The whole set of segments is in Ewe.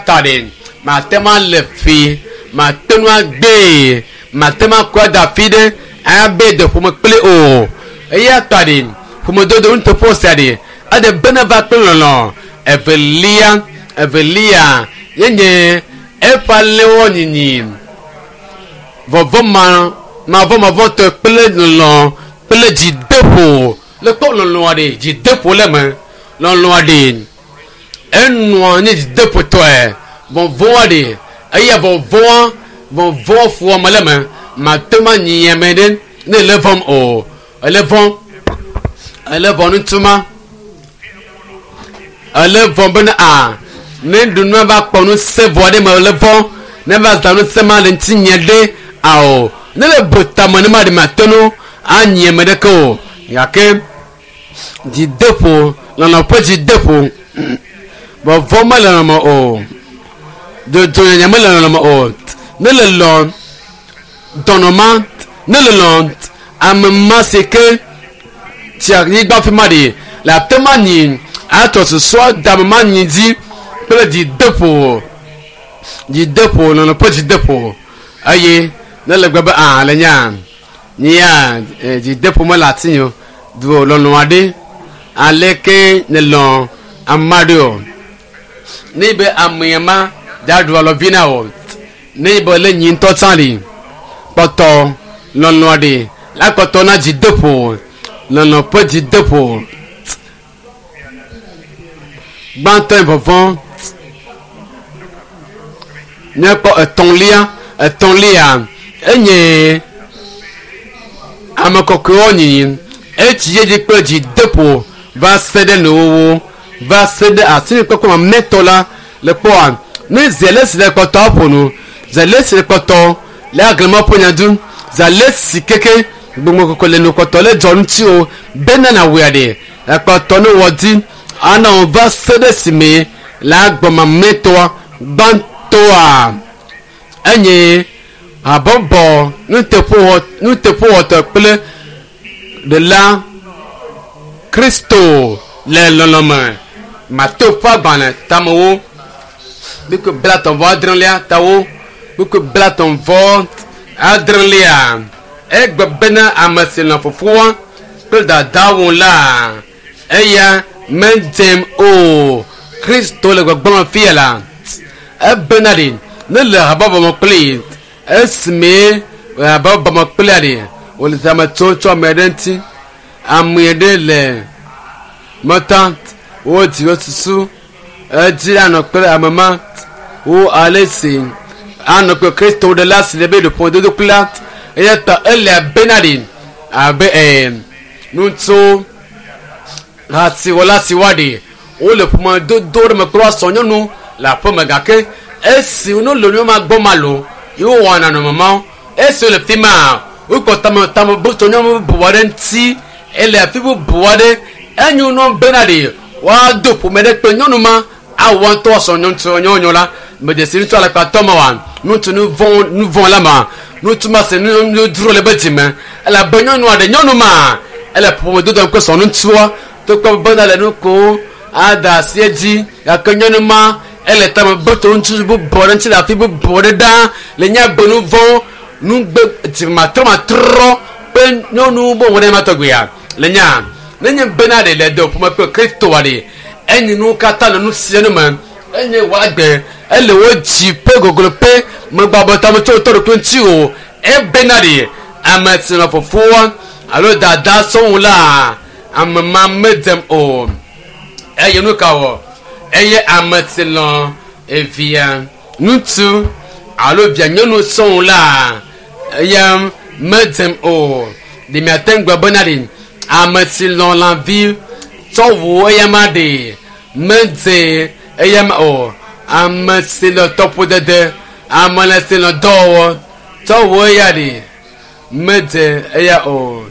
Ta ɖe mate ŋu alé fi, mate ŋu agbee, mate ŋu akɔe da afi ɖe abe de ƒome kpli o. Eya ta ɖe ƒomedodo nuteƒe sia ɖe eɖe bena va kple lɔlɔ̃. Evelia, evelia ye nye eƒe alẽwo nyinyi. Vɔvɔ̃ ma mavɔmavɔtɔe kple lɔlɔ̃ kple dzideƒo. Le kpɔ lɔlɔ̃a ɖe dzideƒo le eme. Lɔlɔ̃a ɖe enɔa nye dzideƒotɔe. Vɔvɔ̃a ɖe eya vɔvɔ̃a vɔvɔ̃ ƒoame le eme. Mate ŋu anyi ame ɖe ne ele vɔ̃m o. Ele vɔ̃ ele vɔ̃ ŋutsu ma. Ele vɔ̃ bena a ne ɖunua va kpɔ ŋusẽ vɔ ɖe me ele vɔ̃ ne va zã ŋusẽ ma le ŋutinye ɖe ao ne le bu tame ne ma ɖe mate ŋu anyi ame ɖeke o gake dzideƒo lɔlɔ̃ ƒe dzideƒo vɔvɔ̃ mele lɔlɔ̃ me o dzodzonyanya mele lɔlɔ̃ me o ne le lɔ dɔnɔ ma ne le lɔ ame ma si ke tsi anyigba fi ma ɖi le ate ma nyi atrɔ susua da ame ma nyi dzi kple dzideƒo dzideƒo lɔlɔ̃ ƒe dzideƒo eye ne le gbe be a le nya nyia dzideƒo mele ati nyo du lɔlɔ̃ aɖe aleke ne lɔ̃ ame aɖe o ne be ame ma da ɖu alɔvi na o ne be le nyi ŋutɔ tsã ɖi kpɔtɔ lɔlɔ̃ ɖi la kpɔtɔ na dzideƒo lɔlɔ̃ ƒe dzideƒo gbãtɔ vɔvɔ̃ míakpɔ etɔ̃lia etɔ̃lia enye ame kɔkɔewo nyinyi etsi dzi kple dzideƒo va se ɖe nuwuwu va se ɖe asinikpɔkpɔ mamlɛtɔ la le kpɔa ne zele si le kpɔtɔ ƒo nu zele si le kpɔtɔ le aglema ƒo nya du zele si keke gbogbo kɔkɔ le nu kpɔtɔ le dzɔ ŋuti o bena na wòe ɖe ekpɔtɔ ne wɔ di ana wo va se ɖe si me le agbɔ mamlɛtɔa gbãtɔa enye habɔbɔ nuteƒewɔ nuteƒewɔtɔ kple ɖela Kristo le lɔlɔ̃me Mateo ƒe agbalẽ tamewo kpukpui blatɔ̃ vɔ adrelia tawo kpukpui blatɔ̃ vɔ adrelia egbe bena ame si lɔ̃ fofoa kple dadawo la eya medzem o. Kristo le gbɔgblɔm fia la ebena ɖi ne le habɔbɔ me kpli esime habɔbɔ me kplia ɖi wòle tame tso tsɔ ame ɖe ŋuti ame ɖe le meta wodzi wo susu edzi anɔ kple ame ma wo ale si anɔ kple Kristo ɖe la si le be ɖoƒo dodo kple la eya ta ele abena ɖi abe ee ŋutsu hasiwɔla si woaɖi wole ƒomedodo ɖe me kple woasɔ nyɔnu le aƒeme gake esi wonɔ le nu ma gbɔ ma lo yewo wɔna nɔnɔme ma esi wole fi ma wokpɔ tame tame bu tso nyɔnu bubu aɖe ŋuti ele afi bubu aɖe enyo nɔ bena ɖi woado ƒome ɖe kple nyɔnu ma awɔ ŋutɔ sɔ nyɔnu nyɔnu la medzesi ŋutsu alakpatɔ ma wa ŋutsu nu vɔ̃ nu vɔ̃ la ma ŋutsu ma se nu nu dzro le be dzime elabe nyɔnua ɖe nyɔnu ma ele ƒomedodo kple sɔ ŋutsua togbɔ bena le nu ko ada asi edzi gake nyɔnu ma ele tame be to ŋutsu bubu aɖe ŋuti le afi bubu aɖe ɖaa le nye be nu vɔ̃ nugbe dzimatrɔmatrɔ kple nyɔnu bubu ɖe ma tɔgbea le nya nenye bena ɖe le do ƒome kple Kristoa ɖe enye nu katã le nu sia nu me enye wòagbe ele wo dzi ƒe gogloƒe megbabɔ tame tso tɔ ɖokui ŋuti o ebena ɖe ame si nɔ fofoa alo dada sɔŋu la ame ma medzem o eye nu ka wɔ eye ame si lɔ evia ŋutsu alo via nyɔnu sɔŋu la eya medzem o ɖe miate ŋu gblɔ bena ɖe ame si lɔ lãvi tsɔ wu eya ma ɖe medze eya ma o ame si lɔ tɔƒodede ame le si lɔ dɔwɔwɔ tsɔ wu eya ɖe medze eya o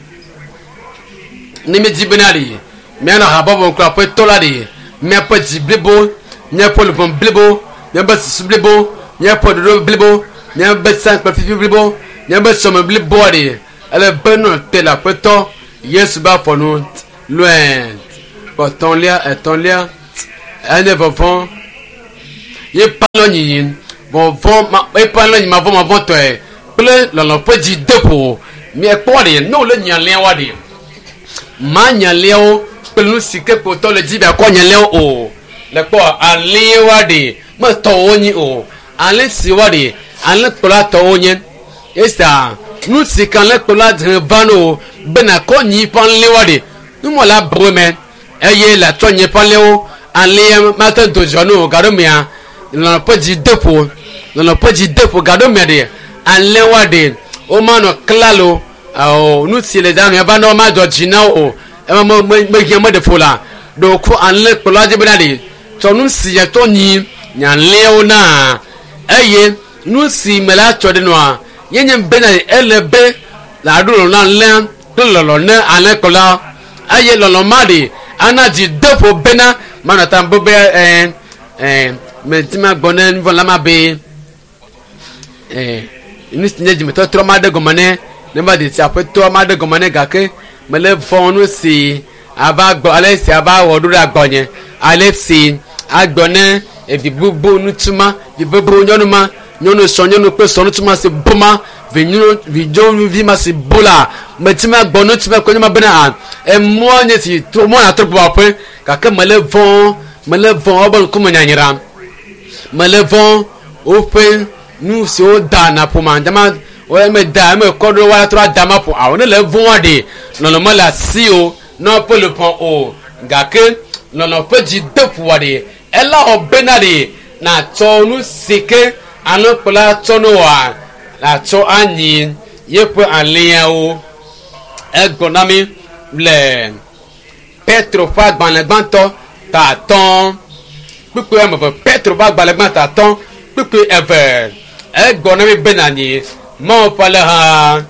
ne mi dzi bena ɖe mianɔ habɔbɔ kple aƒetɔ la ɖe miaƒe dzi blibo miaƒe luʋɔ blibo miaƒe susu blibo miaƒe ɖoɖo blibo miaƒe sãkpe fifi blibo miaƒe sɔme bliboa ɖe ele be nɔ te le aƒetɔ Yesu be afɔ nu lɔe etɔ̃lia etɔ̃lia enye vɔvɔ̃. Ye palɔ nyi vɔvɔ ma eƒe alẽ nyi mavɔmavɔtɔe kple lɔlɔ ƒe dzi de ƒo. Miekpɔ ɖe ne wòle nyalẽa ɖe ma nyalẽawo kple nu si ke kpotɔ le dzi be akɔ nyalẽawo o. Le kpɔ alẽwoa ɖe metɔwo nyi o. Alẽ siwoa ɖe alẽkplɔla tɔwo nye. Esa nu si ke alẽkplɔla dze va no be nakɔ nyi ƒe alẽwoa ɖe numɔ la bu me eye le atsɔ nyi ƒe alẽwo alẽa mate do dzidzɔ no o gaɖo mea lɔlɔ ƒe dzi de ƒo lɔlɔ ƒe dzi de ƒo gaɖo mea ɖe alẽwoa ɖe womanɔ klalo ɔ nu si le dzanu eva ne womadzɔ dzi na wo o ema me me mehiã meɖe ƒo la ɖeko alẽkplɔla dzi bena ɖe tsɔ nu si tsɔ nyi nye alẽawo na eye nu si me la tsɔ ɖe nua ye nye bena ele be la ɖo lɔlɔ na alẽa kple lɔlɔ ne alẽkplɔla eye lɔlɔ ma ɖe ana dzi de ƒo bena manɔ ta be be ɛɛ ɛɛ meti ma gbɔ ne nuvɔ la ma be ɛɛ nu si nye dzimetɔtrɔ ma ɖe gɔme ne ne va de si aƒetɔ ma ɖe gɔme ne gake mele vɔ nu si ava gbɔ ale si ava wɔ ɖo ɖe agbɔnye ale si agbɔ ne evi gbogbo ŋutsu ma vi gbogbo nyɔnu ma nyɔnu sɔ nyɔnu kple sɔ ŋutsu ma si bu ma vi nyɔnu vi nyɔnuvi ma si bu la meti ma gbɔ ŋutsu ma kpe nye ma bena a emɔ nye si to mɔ na trɔ gbɔ aƒe gake mele vɔ mele vɔ wobe ŋkume nyanyra mele vɔ woƒe nu siwo da na ƒome dama wo eme da eme kɔ ɖo wa trɔ da ma ƒo awo ne le vɔa ɖe lɔlɔ mele asi o ne woƒe le ƒɔ o gake lɔlɔ ƒe dzi de ƒoa ɖe ela wɔ bena ɖe natsɔ nu si ke alẽkplɔla tsɔ ne wɔa natsɔ anyi yeƒe alẽawo. Egblɔ na mi le Petro ƒe agbalẽ gbãtɔ ta atɔ̃ kpukpui ame eve Petro ƒe agbalẽ gbãtɔ atɔ̃ kpukpui eve egblɔ na mi bena nyi Mawu ƒe alẽha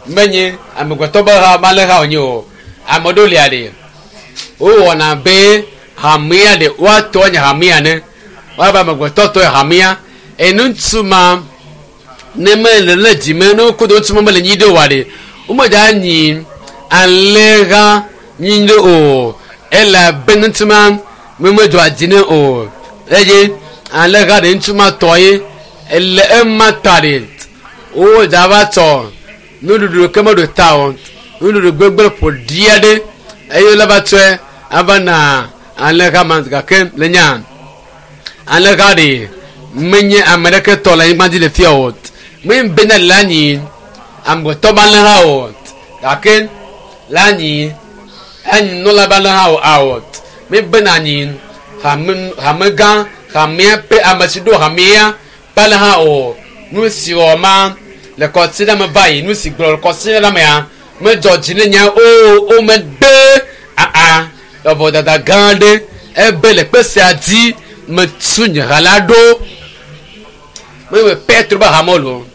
menye amegbetɔ be ha alẽha wònye o. Ame ɖewo lia ɖe wowɔna be hamea ɖe woatɔ nye hamea ne woava amegbetɔ tɔ hamea eye ŋutsu ma ne mele le dzime ne wokodo ŋutsu ma mele nyi ɖe oa ɖe womedza nyi alẽha nyi ɖe o elabe ŋutsu ma me medzɔa dzi ne o eye alẽha ɖe ŋutsu ma tɔ ye ele ema ta ɖe wodza va tsɔ nuɖuɖu ke meɖo ta o nuɖuɖu gbegblẽ ƒo ɖi aɖe eye wole va tsɔe ava na alẽha ma gake le nya alẽha ɖe menye ame ɖeke tɔ le anyigba dzi le fia o menye bena le anyi amegbetɔ be alẽha o gake le anyi anyi nɔla be alẽha o awɔ me bena anyi hame hamegã hamea ƒe ame si ɖo hamea ƒe alẽha o nu si wɔ ma le kɔsi ɖe me va yi nu si gblɔ le kɔsi ɖe mea medzɔ dzi ne nya o o megbe aa lɔbɔdada gã aɖe ebe le kpe sia dzi metu nye ha la ɖo mebe Petro be hame lo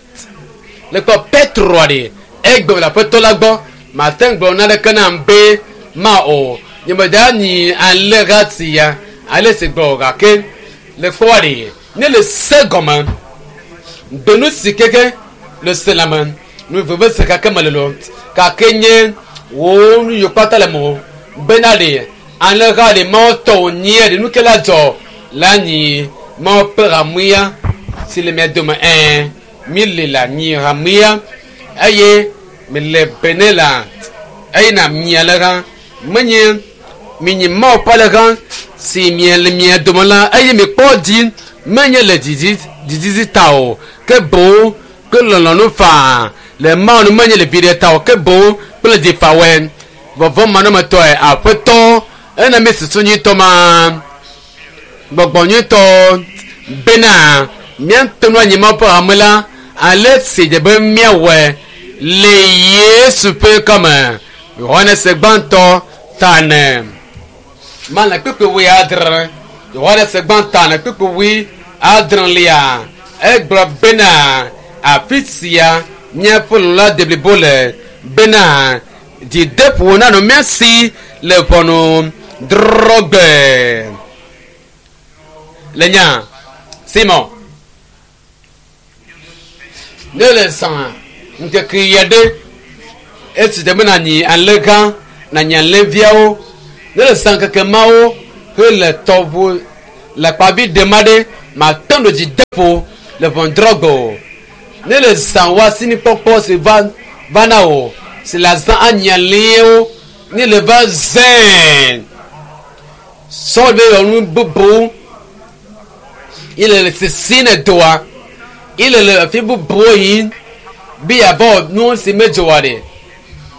le kpɔ Petro ɖe egbe le aƒetɔ la gbɔ mate ŋu gblɔ naneke nam be ma o nyemeda nyi alẽha sia ale si gblɔ gake le kpɔ ɖe ne le se gɔme gbenu si keke le se la me nu veve se kake me le lo gake nye wo nu yiwo kpata le mo bena ɖe alẽha ɖe mawo tɔ wònyi ɖe nu ke la dzɔ la nyi mawo ƒe hamea si le mia dome ɛɛ mi le la nyi hamea eye mi le bene la eye na mia le hã menye mi nyi mawo ƒe alẽha si mia le mia dome la eye mi kpɔ dzi menye le dzidzi dzidzidzi ta o ke boŋ kple lɔlɔ̃nu faa le mawu nu menye le viɖe ta o ke boŋ kple dzifawɔe vɔvɔ manɔmetɔe aƒetɔ ena mi susu nyuitɔ ma gbɔgbɔ nyuitɔ bena míate ŋu anyi Mawu ƒe hame la ale si dze be míawɔe le Yesu ƒe ŋkɔme. Yohanes gbãtɔ ta ene. Male kpukpui wui adre. Yohanes gbãtɔ ene kpukpui wui adrelia. Egblɔ bena afi sia míaƒe lɔlɔ deblibo le bena dzideƒo nanɔ mía si le ʋɔnudrɔ̃gbe. Le nya Simon ne le zã ŋkeke ya ɖe esi dze be nanyi alẽgã nanyi alẽviawo ne le zã ŋkeke mawo hele tɔʋu le kpavi ɖem aɖe Mate ŋu dzi de ƒo le ʋɔnudrɔ̃gbe o. Ne le zã wò asinikpɔkpɔ si va va na wò si le azã anyialĩwo ne le va zẽ sɔ be yɔ nu bubu ile le sisi ne doa ile le afi bubuwo yim be yeava nu si medzɔ oa ɖe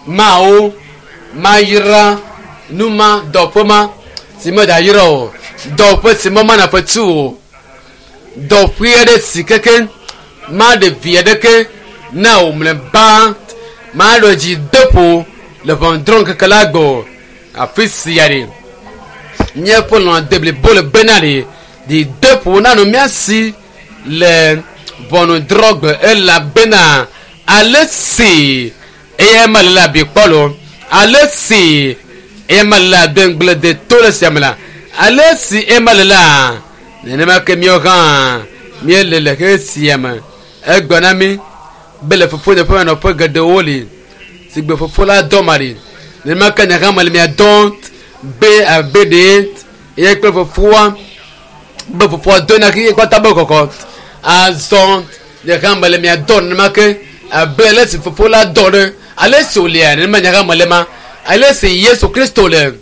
mawo mayra nu ma dɔƒe ma si medayra o dɔƒe si memana fetu o dɔƒe aɖe si keke maɖe vi aɖeke na wò mlɔeba maɖo dzi de ƒo le ʋɔnudrɔ̃ŋkeke la gbɔ o. Afi sia ɖe míaƒe lɔlɔ̃ deblibo le bena ɖe dzideƒo nanɔ mía si le ʋɔnudrɔ̃gbe elabena ale si eya ma le la abi kpɔ lo ale si eya ma le la de ŋugble de to le sia me la ale si eya ma le la nenema ke míawo hã míele le xexe sia me. Egblɔ na mí be le fofonye ƒe nɔƒe geɖewo li si gbe fofo la dɔ ma ɖi. Nenema ke nye hã mele mia dɔm be abe ɖe ye kple fofoa be fofoa do na xexe kpata be kɔkɔ. Azɔ nye hã mele mia dɔm nenema ke abe ale si fofo la dɔ ɖe ale si wòlia nenema nye hã mele ma. Ale si Yesu Kristo le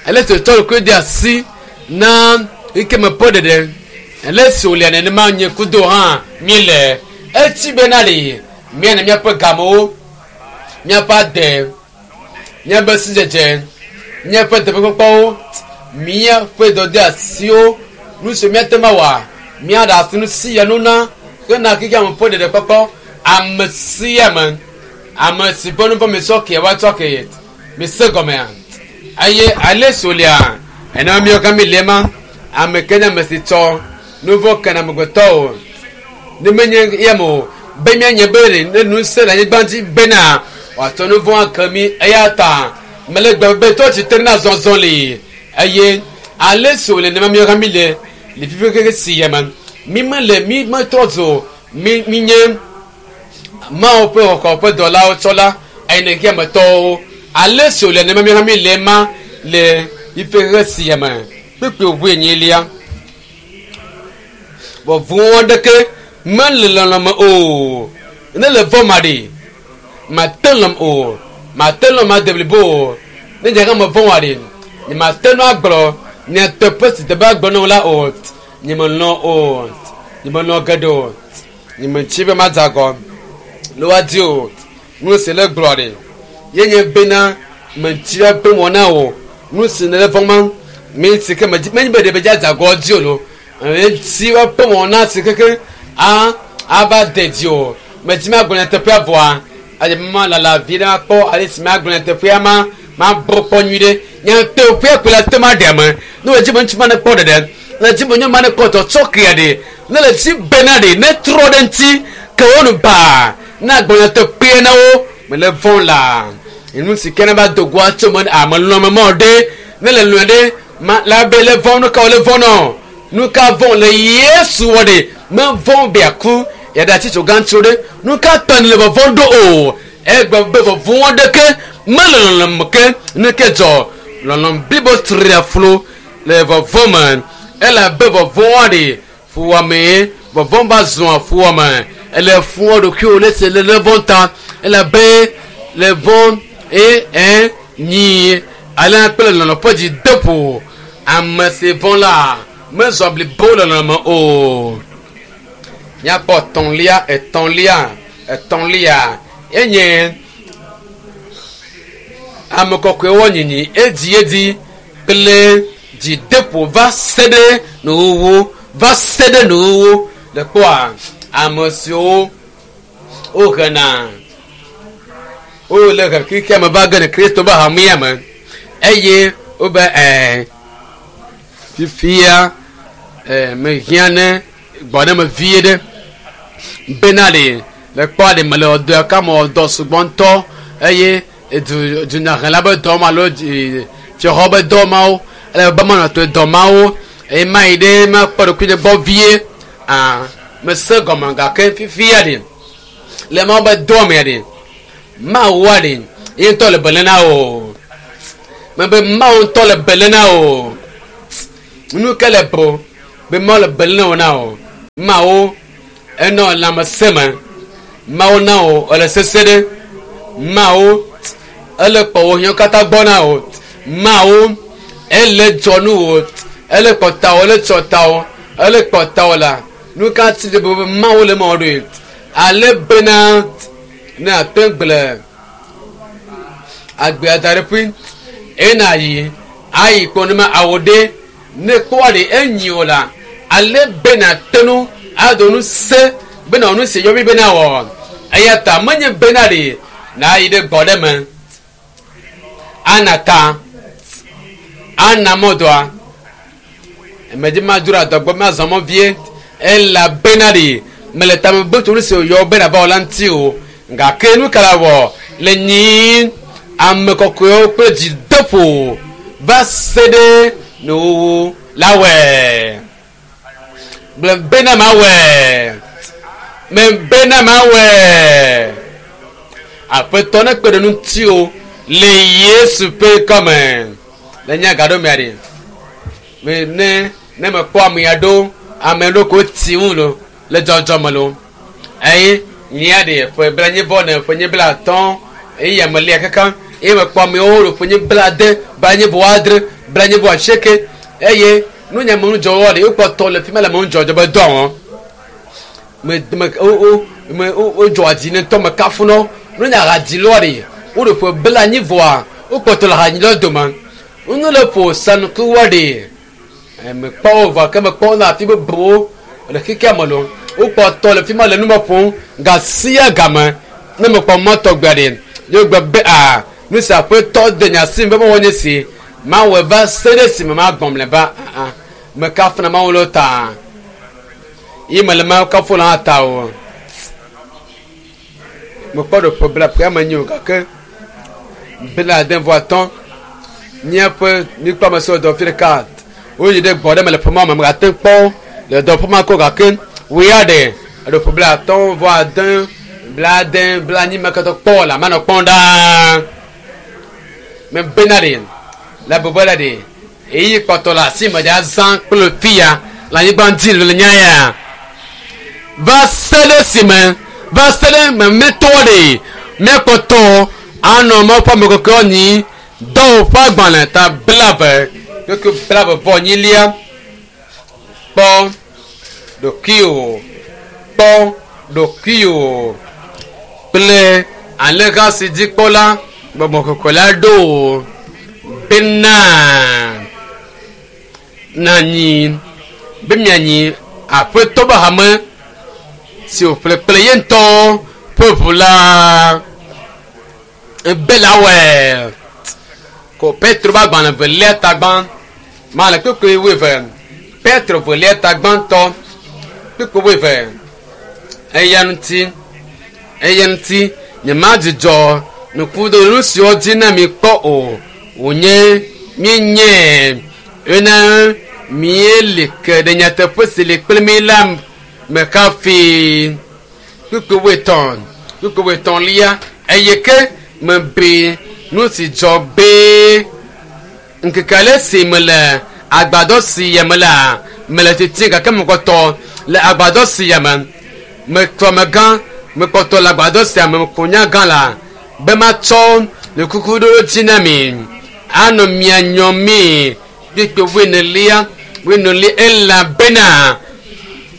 ale si wòtsɔ ɖokui de asi na xexeme ƒe ɖeɖe ale si wòlia nenema nye kudo hã míele. Etsi bena ɖe míana míaƒe gamewo, míaƒe ade, míaƒe sidzedze, míaƒe teƒekpɔkpɔwo, míaƒe dɔdeasiwo, nu siwo míate ŋu awɔa, míaɖe asi nu sia nu na hena xexeame ƒe ɖeɖekpɔkpɔ. Ame sia ame, ame si ƒe nu vɔ̃ misɔ ke woatsɔ ke mise gɔmea. Eye ale si wòlia, enema míawo hã míeli ema. Ame ke nye ame si tsɔ nu vɔ̃ kena amegbetɔwo. Ne menye eya me o, be míanye be ɖe ne ŋusẽ le anyigba dzi bena wòatsɔ nu vɔ̃ ake mí. Eya ta mele gbe be tɔ tsitre na zɔzɔ li eye ale si wòle nenema míawo hã míle le fifi xexe sia me. Mí mele mí metrɔ zu mí mínye Mawu ƒe xɔxɔ ƒe dɔlawo tsɔla eye ne xexea me tɔwo. Ale si wòle nenema míawo hã míle ema le fifi xexe sia me. Kpukpui wuienyilia. Vɔvɔ̃ aɖeke mele lɔlɔ̃ me o. Ne le vɔ̃ ma ɖi, mate lɔ̃m o, mate lɔ̃m ade blibo o. Ne nye hã mevɔ̃ wa ɖi, nyemate ŋu agblɔ nyateƒe si teƒe agblɔ na wò la o. Nyemelɔ̃ o, nyemelɔ̃ geɖe o, nyemetsi be madze agɔ le woadi o. Nu si le gblɔ ɖi ye nye bena metsi be wɔ na wò. Nu si nèle vɔ̃ ma, mi si ke medzi menye be ɖe medzi adze agɔ dzi o lo. Eti woaƒe wɔna si keke a ava de dzi o. Medzi magblɔ nyateƒea vɔa, eye malala vi ɖe makpɔ ale si magblɔ nyateƒea ma mabɔ kpɔ nyui ɖe. Nyateƒea koe la te ma ɖe ame. Ne wòdzi be ŋutsu ma nekpɔ ɖeɖe, ne dzi be nyɔnu ma nekpɔ tsɔtsɔkea ɖe, ne le dzi bena ɖe netrɔ ɖe ŋuti ke wo nu baa, ne agblɔ nyateƒea na wo, mele vɔ̃ la. Nu si ke ne va do goa tso me ame lɔ̃ame ma o ɖe, ne le lɔ̃e ɖe, ma la be le vɔ̃ nu ka wòle vɔ̃ nɔ? Nu ka vɔ̃ le Yesu wɔ ɖe? Mevɔ̃ be yeaku, yeaɖe atitso gã tso ɖe. Nu ka ta nèle vɔvɔ̃m ɖo o? Egblɔ be vɔvɔ̃ aɖeke mele lɔlɔ̃ me ke nu ke dzɔ. Lɔlɔ̃ blibo tria flu le vɔvɔ̃ me elabe vɔvɔ̃a ɖe fuwɔamee. Vɔvɔ̃ va zua fuwɔame. Ele fuwɔ ɖokuiwò le se le vɔ̃ ta elabe le vɔ̃ eye ɛ nyi alea kple lɔlɔ̃ ƒe dzi de ƒo. Ame si vɔ̃ la mezɔ blibo le lɔlɔ̃ me o. Míakpɔ etɔ̃lia, etɔ̃lia, etɔ̃lia enye ame kɔkɔewo nyinyi edziedzi kple dzideƒo va se ɖe nuwuwu, va se ɖe nuwuwu. Le kpɔa ame siwo wohena wole xexea me va ge ɖe Kristo ƒe hamea me eye wobe ɛɛ fifia ɛɛ mehiã ne gbɔɖeme vie ɖe bena ɖe le kpɔa ɖe mele dɔ ka me dɔ sugbɔ ŋutɔ eye du dunyahela be dɔ ma alo fiaxɔ be dɔ mawo ele be manɔ to dɔ mawo eye mayi ɖe makpɔ ɖokuinye gbɔ vie aa mese gɔme gake fifia ɖe le mawo be dɔ mea ɖe mawua ɖe ye ŋutɔ le bele na o mebe mawu ŋutɔ le bele na o nu ke le bo. Be Mawu le be lé wò na o. Mawu enɔ lãmesẽ me. Mawu na wò ele sese ɖe. Mawu ele kpɔ wò hiãwo katã gbɔ na wò. Mawu ele dzɔ nu wò. Ele kpɔ tawò, ele tsɔ tawò, ele kpɔ tawò la. Nu ka ti be Mawu le mɔ ɖoe. Ale bena ne ate gblẽ agbea da ɖe ƒui eye yi ayi kpɔ ne ma awo ɖe ne kpɔa ɖe enyi o la ale bena tenu ado nu se bena nu se yɔmi bena wɔ eya ta menye bena ɖe na yi ɖe gbɔ ɖe me ana ta ana mɔdoa emedzi ma dzro adɔgbɔ ma zɔmɔ vie elabena ɖe mele tame be tso nu si yɔ bena va wɔ la ŋuti o gake nu ka la wɔ le nyi ame kɔkɔewo kple dzideƒo va se ɖe nuwuwu la wɔe gblɔ bena ma wɔe me bena ma wɔe aƒetɔ ne kpe ɖe ŋuti o le Yesu ƒe kɔme le nye gaɖo mea ɖe me ne ne mekpɔ ame aɖewo ame aɖewo ko ti ŋu lo le dzɔdzɔme lo eye nyia ɖe ƒe bla nye bɔ ne ƒe nye bla atɔ̃ eye ame lia kaka eye mekpɔ amewo le ƒe nye bla ade bla nye bɔ adre bla nye bɔ asieke eye nunya me ŋudzɔwɔ ɖe wokpɔtɔ le fi ma le me ŋudzɔdzɔ be dɔ wɔm me me wo wo me wo wodzɔ dzi ne ŋutɔ me kafu nɔ nunya hadzi lɔ ɖe wo ɖe ƒe bla anyi vɔa wokpɔtɔ le hadzi lɔ dome nu le ƒo sanukuwɔ ɖe mekpɔ wo vɔ ke mekpɔ wo le afi bubuwo le xexea me lo wokpɔtɔ le fi ma le nu me ƒom gasia game ne mekpɔ mɔtɔ gbe ɖe ye gbe be a nu si aƒetɔ de nya si be mewɔ nye si mawɔe va se ɖe si me magbɔm le ba aa mekafuna mawu le ta yi mele mawu kafu le hã ta o mekpɔ ɖe ƒe bla ƒe ame nyi o gake bla ade vɔ atɔ̃ míaƒe míkpɔ ame siwo dɔ fi ɖeka woyi ɖe gbɔ ɖe me le ƒe ma me megate kpɔ le dɔ ƒe ma ko gake woya ɖe eɖo ƒe bla atɔ̃ vɔ ade bla ade bla anyi me katã kpɔ le ame nɔ kpɔm ɖaa me bena ɖe le bɔbɔ la ɖe eyi kpɔtɔ le asi me ɖe azã kple fia le anyigba dzi le nya ya va se ɖe si me va se ɖe memetɔ ɖe míakpɔtɔ anɔ Mawu ƒe ame kɔkɔewo nyi dɔwɔƒe ƒe agbalẽ ta 20 kpukpui 22lia kpɔ ɖokuiwò kpɔ ɖokuiwò kple alẽha si dzikpɔla gbɔgbɔ kɔkɔe la ɖo wò bena nanyi be mianyi aƒetɔ be hame si wòƒle kple ye ŋutɔ ƒe ʋu la ebe la wɔe ko Petro be agbalẽ velia tagbã ma le kpukpui wuieve Petro velia tagbãtɔ kpukpui wuieve eya ŋuti eya ŋuti nyemadzudzɔ nukuɖoɖo siwo dzi na mi kpɔ o wònye míenye ena míeli ke ɖe nyateƒe si li kple mi la me hafi kpukpui wuietɔ̃ kpukpui wuietɔ̃lia eye ke mebe nu si dzɔ be ŋkeke ale si mele agbadɔ si ya me la mele titi gake mekpɔtɔ le agbadɔ si ya me metrɔ megã mekpɔtɔ le agbadɔ sia me meko nya gã la be matsɔ le kukuɖoɖo dzi na mi anɔ mia nyɔ mi kpikpi wuienelia wuienelia elabena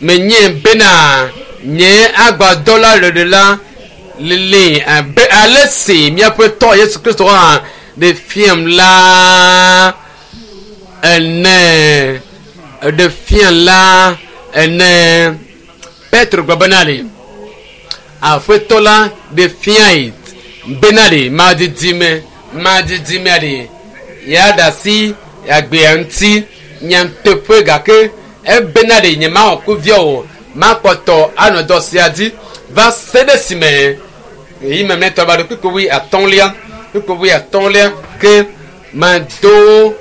menye bena nye agbadɔ la ɖeɖe la lili abe ale si míaƒe tɔ Yesu Kristo hã ɖe fiam la ene ɖe fiam la ene Petro gblɔ bena ɖe aƒetɔ la ɖe fiae bena ɖe madidime madidime ɖe ya ɖe asi agbea ŋuti nyateƒe gake ebena ɖe nye mawɔ kuvia o makpɔtɔ anɔ dɔ sia dzi va se ɖe si me yi memlɛtɔ va ɖo kpukpui wuiatɔ̃lia kpukpui wuiatɔ̃lia ke mado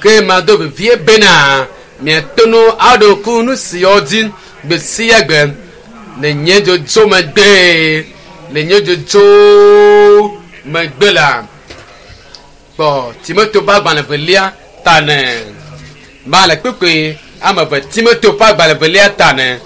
ke mado vevie bena miate ŋu aɖo ku nu siawo dzi gbe sia gbe le nye dzodzo megbe le nye dzodzo megbe la kpɔ Timoteo ƒe agbalẽ velia ta ne ba le kpukpui Ame eve Timoteo ƒe agbalẽ evelia ta ne.